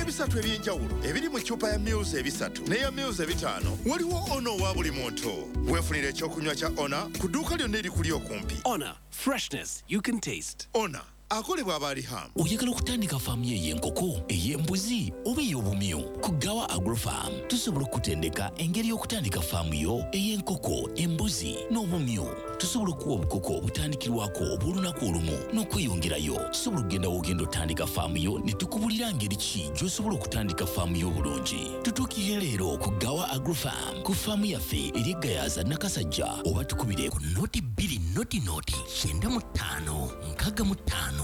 Ebisatu eby'enjawulo ebiri mu ccupa ya mils 3 n'eya mils 5, waliwo Ona owa buli muntu. Weefunira ekyokunywa kya Ona ku dduuka lyonna erikuli okumpi. Honor, freshness you can taste. Ona akolebwa abaalihamu. Oyagala okutandika faamu yo ey'enkoko, ey'embuzi oba ey'obumyu? Ku Gawa Agrofarm tusobola okukutendeka engeri y'okutandika faamu yo ey'enkoko, embuzi n'obumyu. Tusobola okuwa obukoko obutandikirwako obw'olunaku olumu n'okweyongerayo. Tusobola okugenda w'ogenda otandika faamu yo ne tukubulira ngeri ki gy'osobola okutandika faamu yo obulungi. Tutuukirire leero ku Gawa Agrofarm ku faamu yaffe eri Gayaza, Nakasajja, oba tukubire ku 020 095 65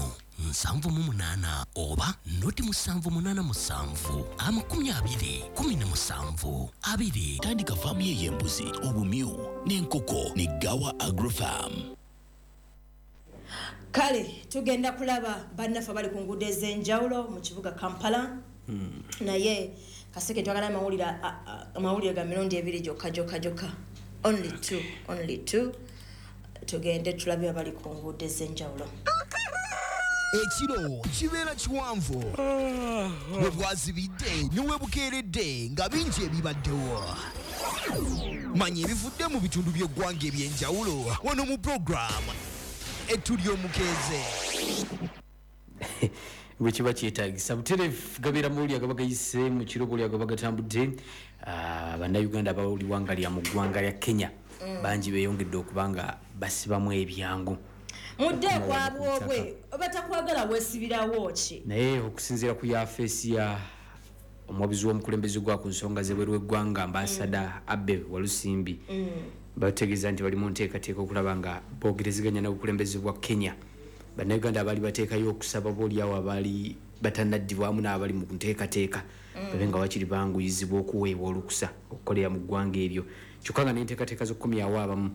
78 oba 0787 20 17 20. Tandika faamu ye ey'embuzi, obumyu n'enkoko ne Gawa Agrofarm. Kale tugenda kulaba bannaffe abali ku nguudo ez'enjawulo mu kibuga Kampala. Naye kaseke twagala amawulire ga mirundi ebiri gyokka gyokka gyokka, only two, only two. Tugende tulabe abali ku nguudo ez'enjawulo. Ekiro kibeera kiwanvu, bwe bwazibidde ne we bukeeredde nga bingi ebibaddewo. Manya ebivudde mu bitundu by'eggwanga eby'enjawulo wano mu puroguramu Ettu ly'Omukeeze. Bwe kiba kyetagisa butereevu, gabeera mawulire agaba gayise mu kiro, buli agaba gatambudde. Bannayuganda abawuliwanga lya mu ggwanga lya Kenya bangi beeyongedde okuba nga basibamu ebyangu. Mudde ekwabwobwe, batakwagala weesibirawo ki? Naye okusinziira ku yafeesi ya omuwabuzi w'omukulembeze gwa ku nsonga z'ebweru w'eggwanga, Ambasada Abe Walusimbi, bategeeza nti bali mu nteekateeka okulaba nga boogerezeganya n'obukulembeze bwa Kenya, Bannayuganda abaali bateekayo okusaba, booliawo abaali batannaddibwamu n'abali mu nteekateeka, babe nga wakiri banguyizibwa okuweebwa olukusa okukolera mu ggwanga eryo. Kyokka nga n'enteekateeka z'okukomyawo abamu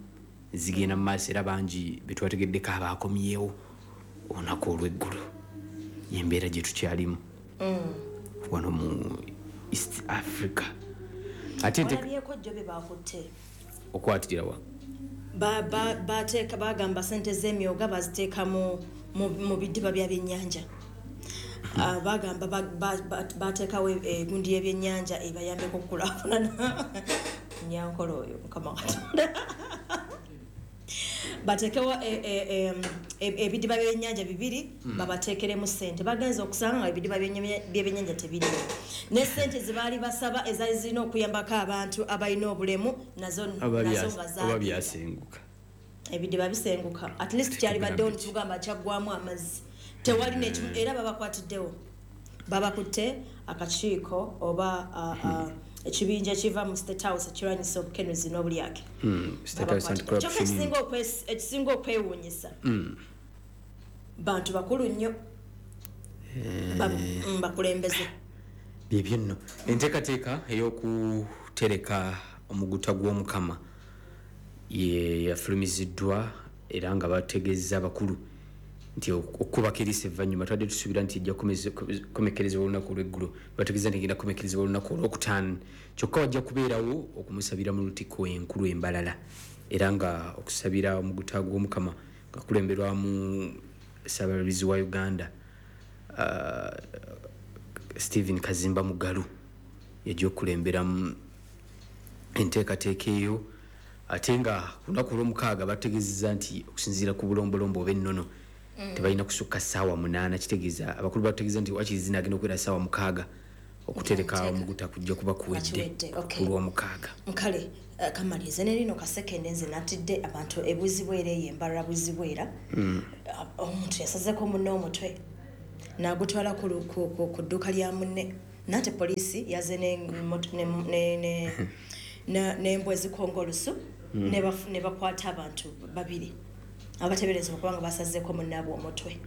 zigenda mu maaso, era bangi betwategeddeko abaakomyewo olunaku olw'eggulo. Yembeera gye tukyalimu wano mu East Africa. Ate Olabyeko jjo bye bakutte? Okwatirira wa? Bateeka, bagamba sente z'emyoga baziteeka mu bidiba bya byennyanja. Bagamba bateekawo egundi y'ebyennyanja ebayambeko okukulaakulana. Nyankolo oyo, Mukama Katonda, bateekewo ebidiba by'ebyennyanja bibiri, babateekeremu sente. Bagenza okusanga nga ebidiba by'ebyennyanja tebiriwo, ne sente zebaali basaba ezaali zirina okuyambako abantu abalina obulemu nazo Oba nazo nga oba zaagenda. Byasenguka. Ebidiba bisenguka, at least kyalibaddewo nitugamba kyaggwamu amazzi, tewali nekimu. Era babakwatiddewo, babakutte akakiiko oba ekibinja ekiva mu State House ekirwanyisa obukenuzi n'obulyake. State House Babakwatidde. Kyokka Anti-Corruption. ekisinga okwewuunyisa, bantu bakulu nnyo, bakulembeze. Byebyo nno. Enteekateeka ey'okutereka omuguta gw'Omukama ye yafulumiziddwa, era nga bategeeza abakulu nti okukubako eriiso evvannyuma. Twadde tusuubira nti ejja kukomekerezebwa olunaku olweggulo, bategeeza nti egenda kukomekerezebwa olunaku Olwokutaano. Kyokka wajja kubeerawo okumusabira mu Lutikko Enkulu embalala, era nga okusabira omuguta gw'Omukama nga kulemberwamu Ssaabalabizi wa Uganda, Stephen Kazimba Mugalu, yajja okukulemberamu enteekateeka eyo. Ate nga ku lunaku Olwomukaaga bategeezezza nti okusinziira ku bulombolombo oba ennono, tebalina kusukka ssaawa 8. Kitegeeza abakulu bategeeza nti wakiri zinagenda okubeera ssaawa 6, okutereka omuguta kujja kuba kuwedde Kiwedde, okay. ku Lwomukaaga. Kale kamalirize ne lino kasekende. Nze natidde abantu ebuzibwera eyo embalala buzibwera. Omuntu yasazeko munne omutwe nagutwala ku dduuka lya munne, nate poliisi yaze n'embwa ezikonga olusu ne bakwata abantu babiri abatebereza okuba nga basazeeko munnaabwe omutwe.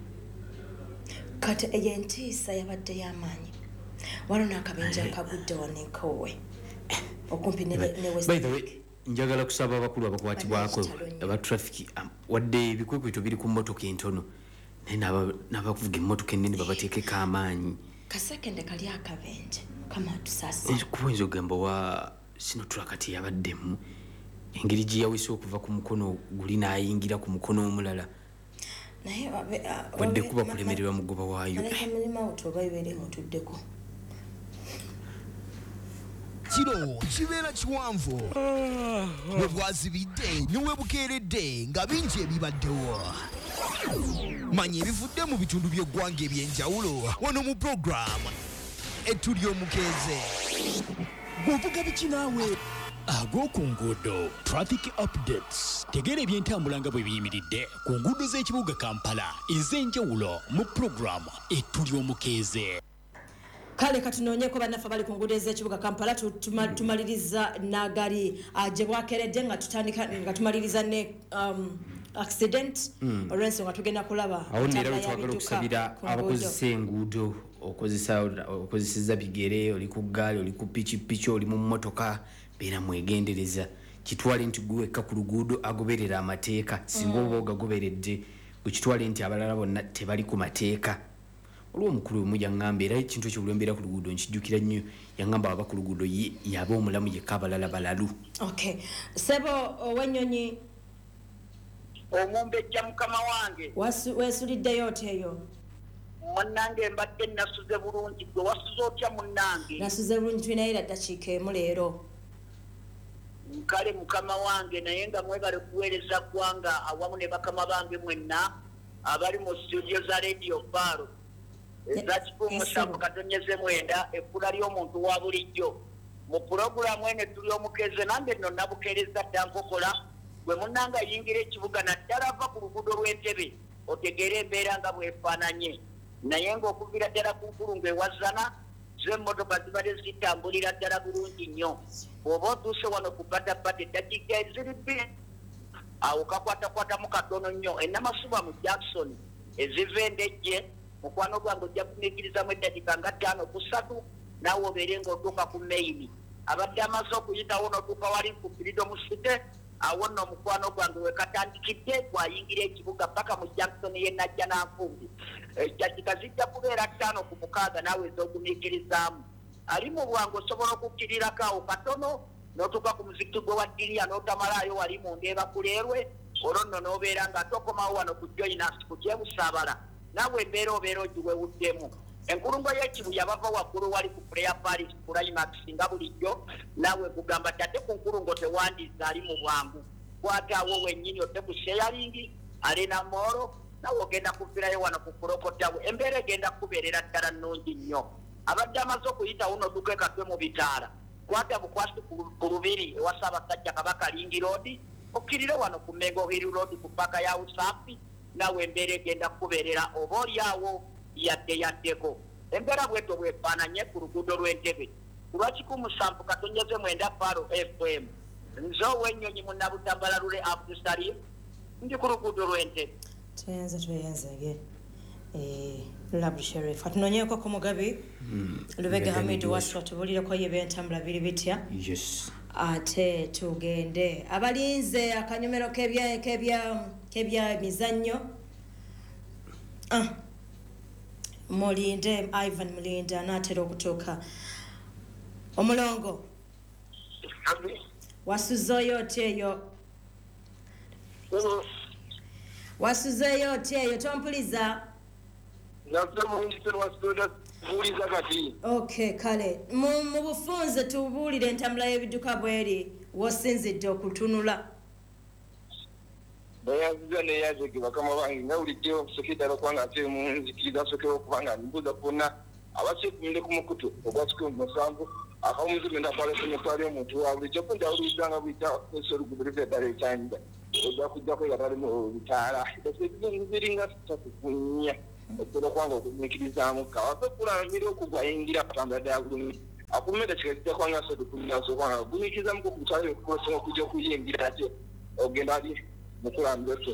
Kati eyo entiisa yabadde y'amaanyi. Waliwo n'akabenje akagudde wano enkoowe okumpi ne West By the way, njagala kusaba abakulu abakwatibwako Bannakitalo nnyo. aba traffic, wadde ebikwekweto biri ku mmotoka entono, naye n'abakuvuga emmotoka ennene babateekeko amaanyi. Kasekende kali akabenje, Mukama atusaasire. Kuba oyinza okugamba wa Sinotruk kati yabaddemu engeri gye yawese okuva ku mukono guli n'ayingira ku mukono omulala, Naye wadde kuba kulemererwa mugoba waayo. Malayika mulimawutu oba ebeera emutuddeko. Ekiro kibeera kiwanvu bwe bwazibidde ne we bukeeredde nga bingi ebibaddewo. Manya ebivudde mu bitundu by'eggwanga eby'enjawulo wano mu puroguramu Ettu ly'Omukeeze. Bw'ovuga biki naawe? Ag'oku nguudo, traffic updates. Tegeera ebyentambula nga bwe biyimiridde ku nguudo z'ekibuga Kampala ez'enjawulo mu puroguramu Ettu ly'Omukeeze. Kale katunoonyeko bannaffe abali ku nguudo ez'ekibuga Kampala. Tumaliriza n'agali gye bwakeredde nga tutandika nga tumaliriza ne accident, olw'ensonga tugenda kulaba Awo nno era wetwagala okusabira abakozesa enguudo. Okozeseza bigere, oli ku ggaali, oli ku pikipiki, oli mu mmotoka, beera mwegendereza. Kitwale nti gwe wekka ku luguudo agoberera amateeka. Singa oba ogagoberedde, gwe nti abalala bonna tebali ku mateeka. Olwo omukulu omu yaŋŋamba, era ekintu ekyo buli mbeera ku luguudo nkijjukira nnyo, yaŋŋamba aba ku luguudo ye yaba omulamu yekka, abalala balalu. Okay, sebo ow'ennyonyi. Omumbejja, mukama wange. Weesuliddeyo otya eyo? Munnange, mbadde nasuze bulungi. Gwe wasuze otya, munnange? Nasuze bulungi. Tulinayo era ddakiika emu leero. Kale mukama wange, naye nga mwebale kuweereza ggwanga awamu ne bakama bange mwenna abali mu studio za Radio Faro eza 107.9, ekkula ly'omuntu wa bulijjo, mu pulogulaamu eno tuli omukeze. Nange nno nabukeereza dda nkokola. Gwe munnange ayingira ekibuga, naddala ava ku luguudo lw'Entebe, otegeere embeera nga bwefaananye. Naye ng'okuviira ddala ku nkulungo ewazana zo, emmotoka zibadde zitambulira ddala bulungi nnyo. Bw'oba otuuse wano ku Batabata, eddakiika eziri 2 awo kakwatakwatamu katono nnyo. Enamasuba mu Jackson eziva Endejje, mukwano gwange, ojja kumiikirizamu eddakiika nga 5 ku 3, naawe obeere ng'otuuka ku main. Abadde amaze okuyitawo n'otuuka wali ku Freedom City, awo nno omukwano gwange wekatandikidde gwayingira ekibuga paka mu Jackson yenajja nanfumbi, eddakiika zijja kubeera 5 ku 6 naawe ez'ogumiikirizaamu. Ali mu bwangu osobola okukkirirako awo katono n'otuuka ku muzikiti gwe wa Ddiriya n'otamalaayo wali mu Ndeeba kuleerwe, olwo nno n'obeera nga tokomawo wano ku Joinas ku Kyebusaabala, naawe embeera obeera ogiwewuddemu. Enkulungo y'Ekibuya bava waggulu wali ku Prayer Paris Climax, nga bulijjo naawe kugamba ti ate ku nkulungo tewandiisa. Ali mu bwangu kwataawo wennyini odde ku Sharing Arena Mall, naawe ogenda kuvirayo wano ku Kulokotawe, embeera egenda kubeerera ddala nnungi nnyo. Abadde amaze okuyitawo n'odduka ekatwe mu bitaala, kwata bukwasi ku Lubiri ewa Ssaabasajja Kabaka, Ring Road, okkirire wano ku Mengo Hill Road ku paka ya Usaafi, naawe embeera egenda kubeerera oba oli awo yadde yaddeko. Embeera bwetyo bwefaananye ku luguudo lw'Entebe ku lwa 107.9 Faro FM. Nze ow'ennyonyi Munnabutambala Lule Abdusalim, ndi ku luguudo lw'Entebe. Tweyanze, tweyenzege Lulabu Sherif. Atunoonyeko ku Mugabi Lubega Hamidu Waswa, tubulireko ye ebyentambula biri bitya. Yes. Ate tugende abalinze akanyomero kebya mizannyo. Ah. Mulinde, Ivan Mulinda anaatera okutuuka. Omulongo, wasuzeeyo otya eyo? Wasuzeeyo otya eyo? Tompuliza? Buuliza kati. Okay, kale mu bufunze tubuulire entambula y'ebidduka bweri wosinzidde okutunula. Bayanziza neyazege bakama bange, nga bulijjo nsooka ddala okubanga ate munzikiriza nsookewo okubanga mbuuza bonna abakyekuumire ku mukutu ogwa 107.9 kwalesenyetwali. Omuntu wa bulijjo ko ndawuliriza nga buyita kozesa oluguudo luva eddala ekyanja ojja kujjako nga tali mu bitaala ziringa 3 ku 4, osobola okubanga okugumiikirizaamu kawafe kulamira okugwayingira atambula ddala bulungi. Akumira eddakiika zijja kubanga 3 ku 4, osobola kubanga ogumiikirizamu ku mutwalo okukosa okujja okuyingira ate ogenda ali mukulambira otyo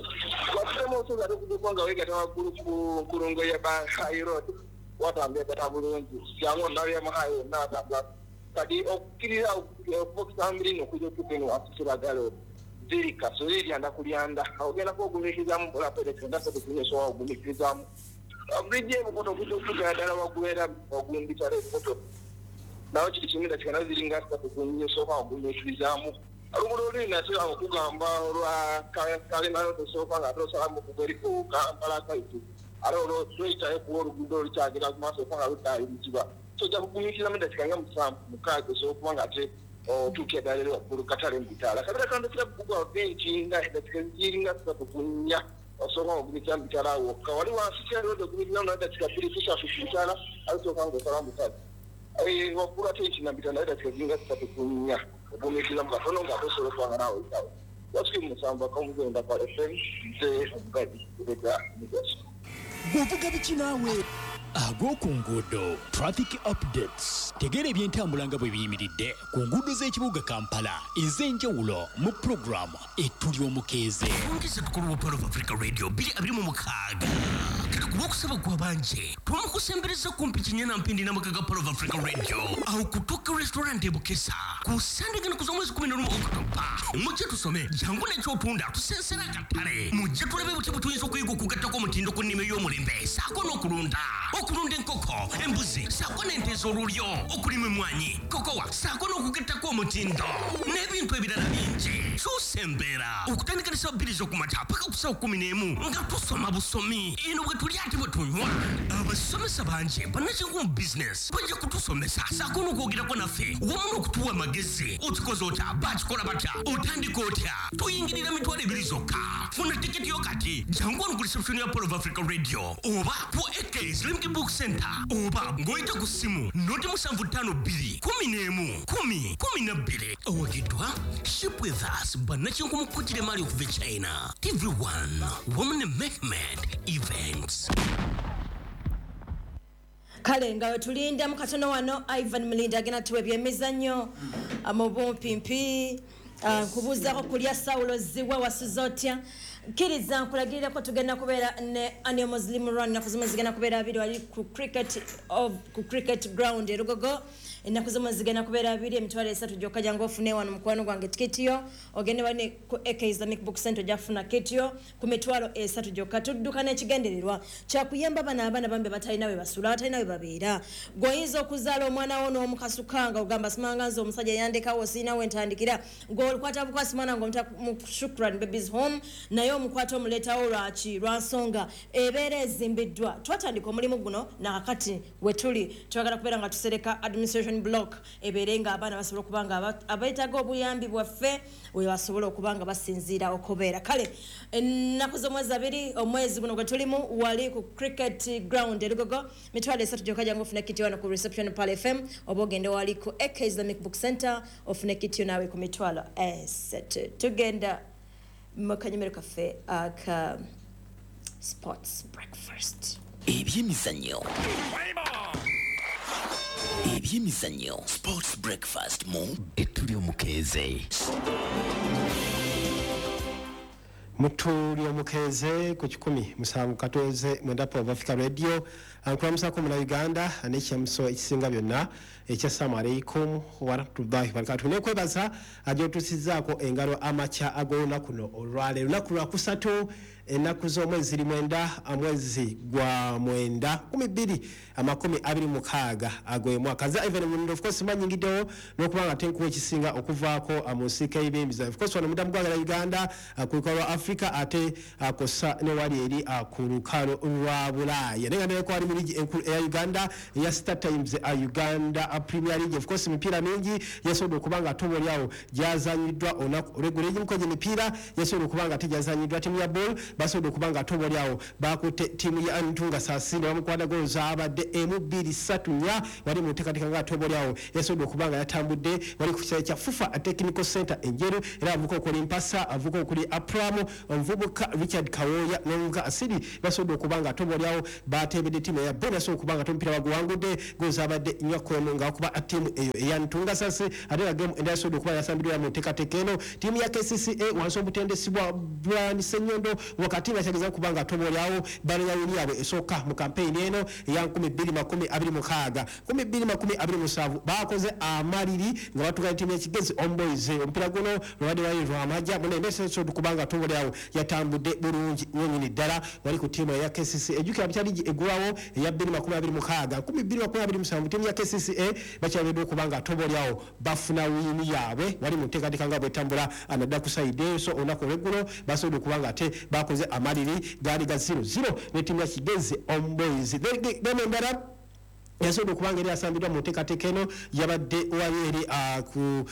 wasiremu osobola ate okujja okuba nga weegata waggulu ku nkulungo ya High Road, watambula ddala bulungi. Jangu onabyamu high yonna watambula. Kati okukkirira okuva okusambirino okujja otuuka eno wansi Kiragalo ziri kasoli lyanda ku lyanda, ogenda kuogumiikirizamu mpolaperekenda 3 ku 4, osobola ogumiikirizaamu. Bridge ebukoto okujja okutuukira ddala waggulu era ogumbitala ebukoto nawo kiri kimu, dakika nazo ziringa 3 ku 4, osooka ogumiikirizaamu. Oluguudo oluli nate okugamba olwa Kalemano tosooka nga ate osalamu okugwa eri ku Kampala kaitu, ate olwo lweyitayo kuba oluguudo olukyagira ku maaso okuba nga luddaayiriziba. Tojja kugumiikiriza mu ddakiika nga 7 6 osobola okuba nga ate otuukira ddala eri waggulu katale mu bitaala. Kabeera kandukira bugwa benki nga eddakiika ziringa 3 ku 4 osobola okugumiikiriza mu bitaala awo wokka. Wali wansi kyalodde ogumiikiriza mu ddakiika 2 ku 3 ku bitaala ate osooka ng'osala mu bitaala. Waggulu ate ekina bitaala eddakiika ziringa 3 ku 4 ogumiikiriza mu katono ng'ate osobola okuba nga naawe oyitawo. Wasukiri 7 akamugenda kwa FM nze Omugabi Lubega Migaso. Bw'ovuga biki naawe? Ag'oku nguudo traffic updates tegeera ebyentambula nga bwe biyimiridde ku nguudo z'ekibuga Kampala ez'enjawulo mu pulogulaamu Ettuli Omukeeze. Ongeza tukulu wa Pearl of Africa Radio 2026. Kati ku lwokusaba kwa bangi twamukusembereza kumpi Kinyana Mpindi n'amaka ga Pearl of Africa Radio awo ku Tokyo Restaurant e Bukesa ku Sande ng'ennaku z'omwezi 11 October. Mujje tusome, jangu n'ekyotunda tusensera akatale. Mujje tulabe butya bwe tuyinza okuyiga okugattako omutindo ku nnima ey'omulembe ssaako n'okulunda. Okulunda enkoko, embuzi ssaako n'ente ez'olulyo, okulima emmwanyi, kokowa ssaako n'okugattako omutindo n'ebintu ebirala bingi. Kyusa embeera okutandika ne ssaawa 2 ez'okumakya paka ku ssaawa 11 nga tusoma busomi. Eno bwe tulya ate bwe tunywa. Abasomesa bangi bannakinku mu bizinesi bajja kutusomesa ssaako n'okwogerako naffe wamu n'okutuwa amagezi. Okikoze otya? Bakikola batya? Otandika otya? Tuyingirira 20,000 zokka. Funa tiketi yo kati. Jangu wano ku reception ya Pearl of Africa Radio oba ku AK Islamic Book Center oba ng'oyita ku ssimu 075 2 11 10 12. Owagiddwa Ship With Us bannakinku mu kukutira emaali okuva e China, TV1 wamu ne Mehmed Events. Kale nga wetulinda mu katono wano Ivan Mulinda agenda tuwa ebyemizannyo mu bumpimpi. Nkubuuzaako kulya sawulo ziwa wasuze otya? Kkiriza nkulagirireko tugenda kubeera ne Annual Muslim Run ennaku zimwe zigenda kubeera 2 wali ku cricket ground e Lugogo. Ennaku zimwe zigenda kubeera 2 3,000 gyokka. Jangu ofune wano mukwano gwange tiketi yo ogende wali ku AK Islamic Book Center ojja kufuna kiti yo ku 3,000 gyokka. Tudduka n'ekigendererwa kyakuyamba bano abaana bambi batalina we basula, batalina we babeera. Gw'oyinza okuzaala omwana wo n'omukasuka nga ogamba simanga nze omusajja yandekawo sirina we ntandikira, gw'olikwata bukwasi mwana ng'omuta mu Shukran Babies Home naye omukwata omuleetawo lwaki? Lwa nsonga ebeera ezimbiddwa. Twatandika omulimu guno nakakati we tuli twagala kubeera nga tusereka administration block ebeere nga abaana basobola okuba nga abeetaaga obuyambi bwaffe we basobola okuba nga basinziira okubeera. Kale ennaku z'omwezi 2 omwezi guno gwe tulimu wali ku cricket ground e Lugogo 3,000 gyokka. Jangu ofune kiti wano ku reception Pearl FM oba ogende wali ku AK Islamic Book Center ofune kiti naawe ku 3,000. Tugenda mu kanyumiro kaffe aka sports breakfast. Ebyemizannyo. Ebyemizannyo sports breakfast mu Ettuli Omukeeze. Mutuli Omukeeze ku 107.9 Pearl of Africa Radio. Nkulamusako muna Uganda n'ekyamuso ekisinga byonna ekya assalamu alaikum warahmatullahi wabarakatuh. Nekwebaza agyotusizaako engalo amakya ag'olunaku luno olwaleero, lunaku lwakusatu ennaku z'omwezi 9 mwezi gwa 9 2026 ag'omwaka. Nze Ivan Mulindo, of course manyingiddewo n'okuba nga tenkuwa ekisinga okuvaako mu nsiike y'ebyemizannyo. Of course wano mudda mu ggwanga lya Uganda ku lukalu lwa Africa ate kossa ne wali eri ku lukalu lwa Bulaaya. Naye nga ndabeko wali mu liigi enkulu eya Uganda eya Star Times Uganda Premier League. Of course emipiira mingi yasobodde okuba nga ate oboolyawo gyazanyiddwa olunaku olw'eggulo. Egimu ku egyo emipiira yasobodde okuba nga ate gyazanyiddwa ttiimu ya Ball basobodde okuba nga ate oboolyawo bakutte ttiimu ya Ntunga Saasi ne bamukwata goolo zaabadde 1 2 3 4 wali mu nteekateeka nga ate oboolyawo yasobodde okuba nga yatambudde wali ku kisaawe kya FUFA Technical Center Enjeru. Era avuka okuli Mpasa, avuka okuli Apramu, omuvubuka Richard Kawoya n'omuvubuka Asiri basobodde okuba nga ate oboolyawo bateebedde ttiimu eya Ball yasobodde okuba nga ate omupiira baguwangudde goolo zaabadde 4-1 nga bakuba ttiimu eyo eya Ntunga Saasi. Ate nga geemu endala yasobodde okuba yasambiddwa mu nteekateeka eno ttiimu ya KCCA wansi omutendesi bwa Brian Ssenyondo wakati nga kyageza okuba nga ate oboolyawo banoonya wini yaabwe esooka mu kampeyini eno eya 2026 2027. Bakoze amaliri nga batuuka ne ttiimu y'Ekigezi Omboys. Omupiira guno lwabadde wali lwamajja munene okuba nga ate oboolyawo yatambudde bulungi nnyini ddala wali ku ttiimu eya KCCA. Ejjukira bukya liigi eggulwawo eya 2026 2027 ttiimu ya KCCA bakyabedde okuba nga ate oboolyawo bafuna wiini yaabwe wali mu nteekateeka nga bwetambula nadda ku sayidi eyo. So olunaku olw'eggulo basobodde okuba nga ate bakoze amaliri gaali ga 0-0 ne ttiimu ya Kigezi Omboys. Then endala Yasobola okubanga eri asambiddwa mu nteekateeka eno yabadde wali eri ku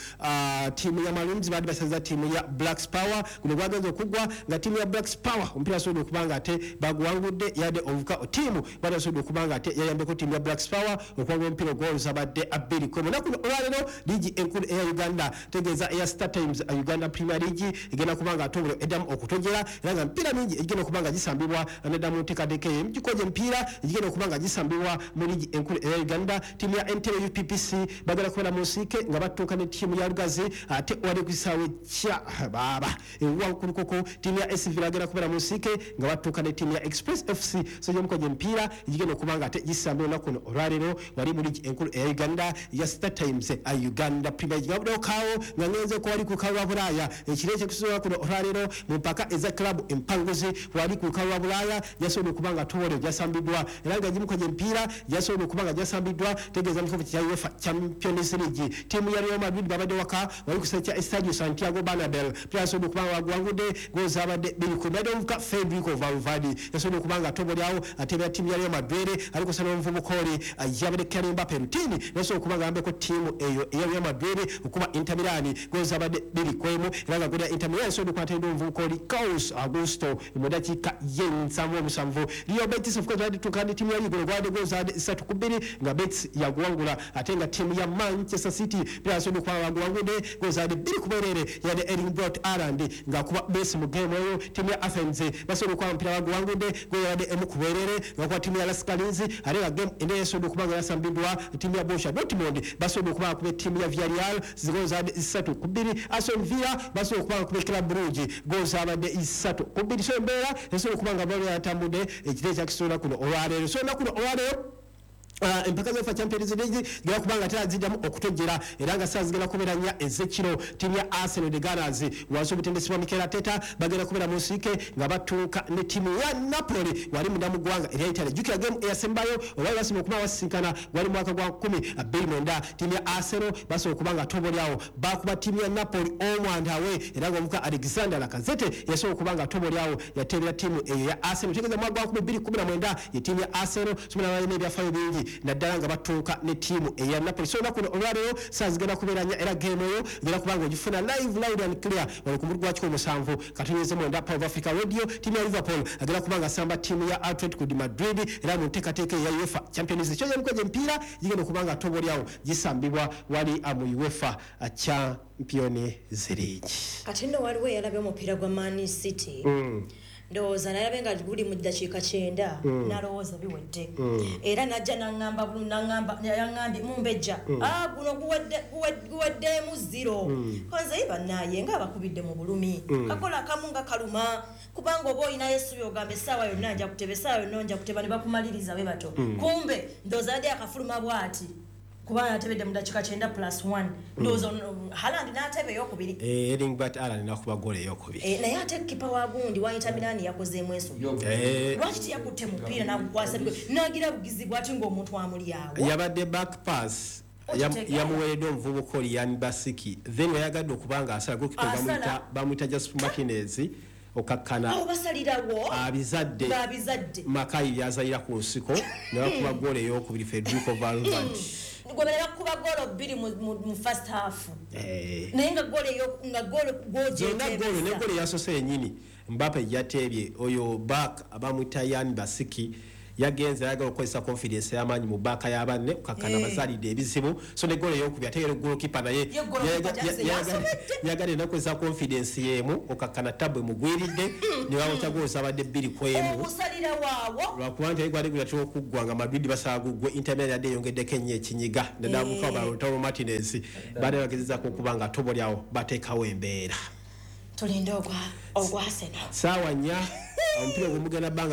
ttiimu ya Maroons, baadde basaza ttiimu ya Blacks Power. Guno gwagenze okuggwa nga ttiimu ya Blacks Power omupiira asobola okubanga ate baguwangudde, yadde omuvuka ttiimu baadde asobola okubanga ate yayambeko ttiimu ya Blacks Power okuwangula omupiira ogwoluzabadde 2-1. Naku olwaleero liigi enkulu eya Uganda, tegeeza eya Star Times Uganda Premier League, egenda kubanga ate obulyo eddamu okutojera, era nga emipiira mingi egigenda okuba nga gisambibwa nedda mu nteekateeka eyo. Emijjuko gy'emipiira egigenda okuba nga gisambibwa mu liigi enkulu eya Uganda, ttiimu ya Entebbe UPPC bagenda kubeera mu nsiike nga batuuka ne ttiimu ya Lugazi, ate wali ku kisaawe kya baaba ewankulukoko ttiimu ya SC Villa bagenda kubeera mu nsiike nga batuuka ne ttiimu ya Express FC. So gy'emikono gy'emipiira egigenda okuba nga ate gisambibwa olunaku luno olwaleero wali mu liigi enkulu eya Uganda ya Star Times Uganda Premier League. Ngabuddewo kaawo nga ngenze ko wali ku lukalu lwa Bulaaya, ekiro ekyokusobola kuno olwaleero mu mpaka eza club empanguzi wali ku lukalu lwa Bulaaya gyasobola okuba nga towole gyasambiddwa, era nga gimu gy'emipiira gyasobola okuba nga gyasambiddwa, tegeeza mu kifo kya UEFA Champions League. Ttiimu ya Real Madrid babadde waka wali ku kisaawe kya Estadio Santiago Bernabeu, byasobola okuba nga baguwangudde goal zaabadde 2-1. Yadde omuvubuka Federico Valverde yasobola okuba nga tobolyawo ateebera ttiimu ya Real Madrid, alikosa n'omuvubuka oli yabadde Kylian Mbappe Rutini yasobola okuba nga ayambeko ttiimu eyo eya Real Madrid okuba Inter Milan goal zaabadde 2-1, era nga goal ya Inter Milan yasobola okuba atendde omuvubuka oli Carlos Augusto mu dakiika y'ensanvu omusanvu. Real Betis of course badde tuuka ne ttiimu ya Ligue, gwadde goal zaabadde 3-2 nga Betis yaguwangula, ate nga ttiimu ya Manchester City byasobola okuba nga baguwangudde goal zaabadde 2-0, yadde Erling Braut Haaland ng'akuba Messi mu game eyo. Ttiimu ya Athens basobola okuba omupiira baguwangudde goal yabadde 1-0 nga kuba ttiimu ya LASK Linz, ate nga game endala yasobola okuba nga yasambiddwa ttiimu ya Borussia Dortmund basobola okuba nga kuba ttiimu ya Villarreal goal zaabadde 3-2. Aston Villa basobola okuba nga kuba Club Brugge goal zaabadde 3-2. So embeera esobola okuba nga bali yatambudde ekiro ekyakisobola kuno olwaleero. So olunaku luno olwaleero, empaka za UEFA Champions League zigenda kuba nga tera ziddamu okutojjera, era nga saa zigenda kubeera 4 ez'ekiro. Ttiimu ya Arsenal the Gunners wansi obutendesi bwa Mikel Arteta bagenda kubeera mu nsiike nga batuuka ne ttiimu ya Napoli wali munda mu ggwanga erya Italy. Jjukira game eyasembayo olwali basobola okuba basisinkana gwali mwaka gwa 2009. Ttiimu ya Arsenal basobola okuba nga tobolyawo bakuba ttiimu ya Napoli omwandawe, era nga omuka Alexander Lacazette yasobola okuba nga tobolyawo yateebera ttiimu eyo ya Arsenal. Tegeeza mwaka gwa 2019 ye ttiimu ya Arsenal sobola balina ebyafaayo bingi naddala nga batuuka ne ttiimu eya Napoli. So olunaku luno olwaleero saa zigenda kubeera 4, era game eyo genda kuba nga ogifuna live, loud and clear wano ku mulugu gwa 17.9 Power of Africa Radio. Ttiimu ya Liverpool agenda kuba nga asamba ttiimu ya Atletico de Madrid, era mu nteekateeka eya UEFA Champions League. Kyoja emikono gy'emipiira gigenda okuba nga tobolyawo gisambibwa wali mu UEFA Champions League. Kati nno waliwo eyalabye omupiira gwa Man City, ndowooza nalabe nga guli mu ddakiika 90, nalowooza biwedde, era najja naŋŋamba yaŋŋambye mumbejja, "Ah, guno guweddemu 0." Konze bannaye nga abakubidde mu bulumi, kakola akamu nga kaluma, kubanga oba olinayo essubi ogamba essaawa yonna nja kuteba, essaawa yonna nja kuteba, ne bakumaliriza bwe bato. Kumbe ndowooza yadde akafuluma bw'ati, kubanga atebedde mu dakiika 90 plus 1, ndowooza Haaland n'ateba eyokubiri. Erling Braut Haaland nakuba goal eyokubiri. Eh, naye ate kipa wa gundi wa Inter Milan yakozeemu ensobi. Lwaki teyakutte mupiira n'agukwasa n'agira bugizi bwati ng'omuntu amuli awo? Yabadde back pass Okitegeera. Yamuweereddwa omuvubuka oli Yan Basiki, then yayagadde okuba nga asala goalkeeper. Asala. Bamuyita Jasper Martinez okakkana Awo basalirawo abizadde. Ng'abizadde. Makayi byazalira ku nsiko ne bakuba goal eyokubiri Federico Valverde. Gwe balala kuba goolo 2 mu first half, naye nga goolo eyo nga goolo Zonna goolo ne gwogyetebeza. Goolo eyasose yennyini Mbappe yateebye, oyo back bamuyita Yan Basiki yagenze ayagala okukozesa confidence ey'amaanyi mu baaka y'abanne, okakkana bazaalidde ebizibu. So ne goolo eyokubiri ate era goalkeeper naye Ye goalkeeper yasobedde. Yagadde nakozesa confidence y'emu, okakkana tabu emugwiridde ne bawokya goolo zabadde 2-1. Obusalira waawo. Lwakuba nti gwali gulatera okuggwa nga Madrid basaba guggwe, Inter Milan yadde eyongeddeko ennyo ekinyiga naddala mukawa Lautaro Martinez baadde bagezezaako okuba nga tobolyawo bateekawo embeera. Tulinde ogwa Arsenal. Saawa 4 omupiira ogwo mugenda bbanga.